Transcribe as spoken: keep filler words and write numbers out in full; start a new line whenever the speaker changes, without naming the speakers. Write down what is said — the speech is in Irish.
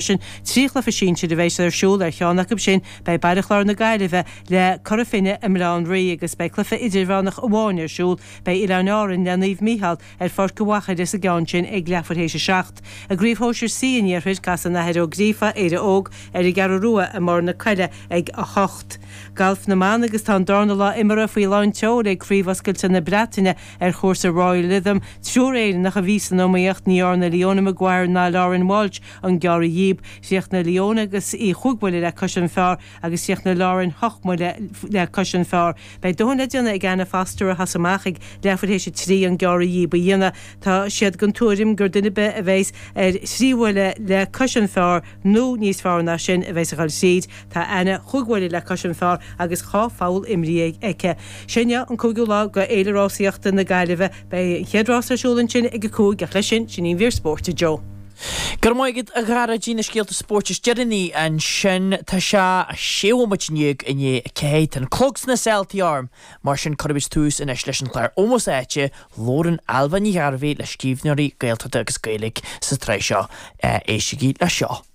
Sin trí chluiche sinsir a bheidh ar siúl ar cheann acu sin beidh Baile Chláir na Gaillimhe le Cora Finne i mBaile Átha an Rí agus beidh cluiche idirmheánach amháin ar siúl beidh Oileáin Árann le Naomh Mícheál ar Pháirc an Mhachaire sa gceann sin ag leathuair théis a seacht. I gCraobh Shóisir C an Iarthair casann Athair Ó Gríofa Éire Óg ar an gCeathrú Rua i mBarr na Coille ag a hocht. Galf na mban agus tá an darna lá imeartha faoi lán tseoil ag Craobh Oscailte na Breataine ar chúrsa Royal Lytham triúr Éireannach a bhí san iomaíocht ní dhearna Leona Maguire ná Lauren Walsh an gearradh dhíob Chríochnaigh Leona agus í chúig bhuille le cois an phar agus chríochnaigh Lauren ocht mbuille le cois an phar. Beidh dóthain le déanamh ag Anna Foster a thosaigh amach ag leathuair théis a trí an gearradh dhíob a dhéanamh. Tá siad den tuairim gur duine ar bith a bheas ar thrí bhuille le cois an phar nó níos fearr ná sin a bheas ag dul tríd. Tá Anna chúig bhuille le cois an phar agus dhá pholl imrithe aici. Sin an cúigiú lá de Fhéile Rásaíochta na Gaillimhe beidh an chéad rás ar siúl ansin ag a cúig ach leis sin sin í an mhír spóirt a Joe.
Go raibh maith agat a Dhara na scéalta spóirt is deireanaí ansin tá sé sé nóiméad déag i ndiaidh a ceathair Tá an clog sna saoltaí orm, mar sin cuirfimid tús anois leis an chlár Ómós Áite labhrann Ailbhe Ní Ghairbhí le scríbhneoirí Gaeltachta agus Gaeilge sa tsraith seo éistigí le seo.